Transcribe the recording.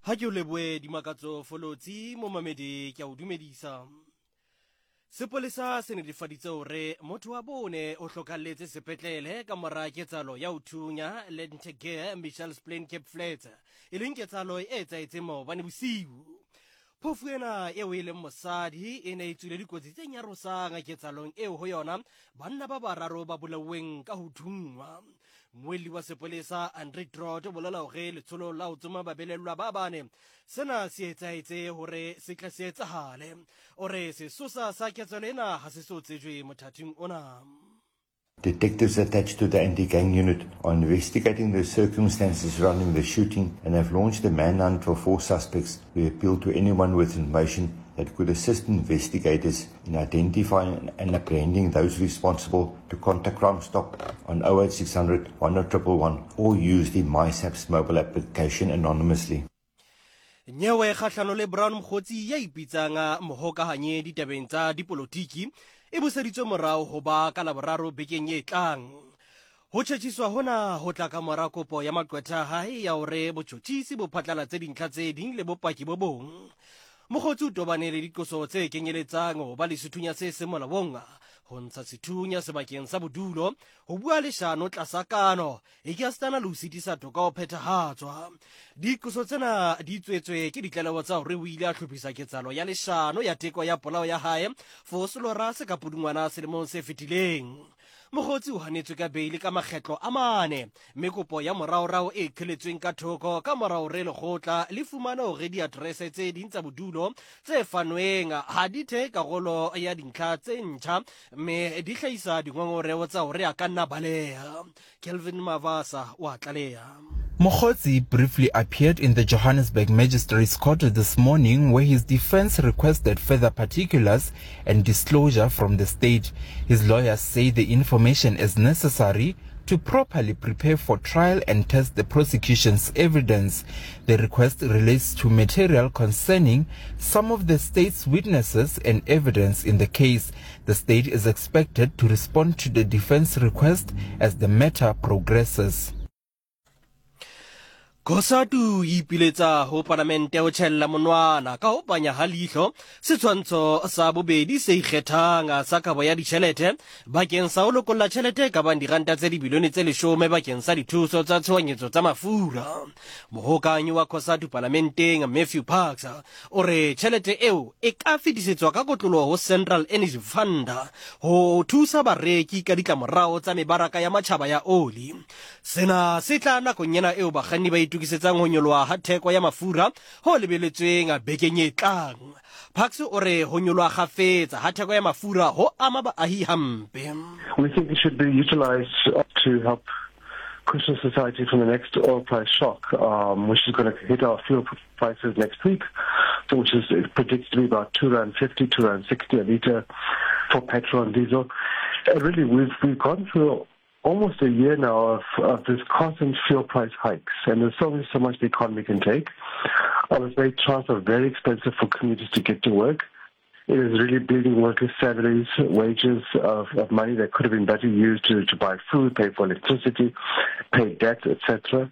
Ha ke o leboe Dimakatso Folotsi, momamedi ke a o dumedisa. Sepolesa se netefaditse hore motho wa bone o hlokalletse sepetlele ka mora ketsahalo ya ho thunya Lentegeur Mitchells Plain Cape Flats, e leng ketsahalo e etsahetseng maobane bosiu. Phofu ena eo e leng mosadi e ne e tswile dikotsi tse nyarosang ketsahalong eo ho yona banna ba bararo ba bolauweng ka ho thunngwa. Mmuelli wa sepolesa Andre Trot o bolela hore letsholo la ho tsoma babelellwa ba bane sena se etsahetse hore se tle se etsahale. O re sesosa sa ketsahalo ena ha se so tsejwe mothating ona. Detectives attached to the anti-gang unit are investigating the circumstances surrounding the shooting and have launched a manhunt for four suspects. We appeal to anyone with information that could assist investigators in identifying and apprehending those responsible to contact Crime Stop on 08600 10111 or use the MySAPS mobile application anonymously. Nyewe kgahlano le Brown Mokgotsi ya ipitsang mohokahanye ditabeng tsa dipolotiki e buseditswe morao ho ba ka Laboraro bekeng e tlang. Ho tjhetjhiswa hona ho tla ka mora kopo ya maqwetha a hae ya hore botjhotjhisi bo phatlalatse dintlha tse ding le bopaki bo bong. Mokgotsi o tobane le diqoso tse kenyeletsang ho ba le sethunya se seng molaong, ho ntsha sethunya sebakeng sa bodulo, ho bua leshano tlasa kano, ekasitana le ho sitisa toka ho phethahatswa. Diqoso tsena di tswetswe ke ditlaleho tsa hore o ile a hlophisa ketsahalo ya leshano ya teko ya polao ya hae Vosloorus ka Pudungwana selemong se fetileng. Mokgotsi o hanetswe ka beili ka makgetlo a mane, mme kopo ya moraorao e qheletsweng ka thoko ka mora hore lekgotla le fumane hore diaterese tse ding tsa bodulo tse fanweng ha di thehe karolo ya dintlha tse ntjha mme di hlahisa dingongoreo tsa hore a ka nna baleha. Kelvin Mavasa o a tlaleha. Mogotsi briefly appeared in the Johannesburg Magistrates Court this morning where his defense requested further particulars and disclosure from the state. His lawyers say the information is necessary to properly prepare for trial and test the prosecution's evidence. The request relates to material concerning some of the state's witnesses and evidence in the case. The state is expected to respond to the defense request as the matter progresses. Cosatu e ipiletsa ho palamente ho tjhella monwana ka ho panya ha leihlo setshwantsho sa bobedi se ikgethang sa kabo ya ditjhelete bakeng sa ho lokolla tjhelete e ka bang diranta tse dibilione tse leshome bakeng sa dithuso tsa tshohanyetso tsa mafura. Mohokanyi wa Cosatu palamenteng Matthew Parks o re tjhelete eo e ka fetisetswa ka kotloloho ho Central Energy Fund ho thusa bareki ka ditlamorao tsa mebaraka ya matjhaba ya oli. Sena se tla nakong ena eo bakganni ba itokisetsang ho nyoloha ha theko ya mafura ho lebeletsweng bekeng e tlang. Parks o re ho nyoloha kgafetsa ha theko ya mafura ho ama baahi hampe. We think it should be utilized to help cushion society from the next oil price shock, which is going to hit our fuel prices next week, so which is predicted to be about two rand fifty, two rand sixty a liter for petrol and diesel. Really, we've gone through almost a year now of this constant fuel price hikes, and there's only so much the economy can take. Obviously, transport very expensive for commuters to get to work. It is really bleeding workers' salaries, wages of money that could have been better used to buy food, pay for electricity, pay debt, etc.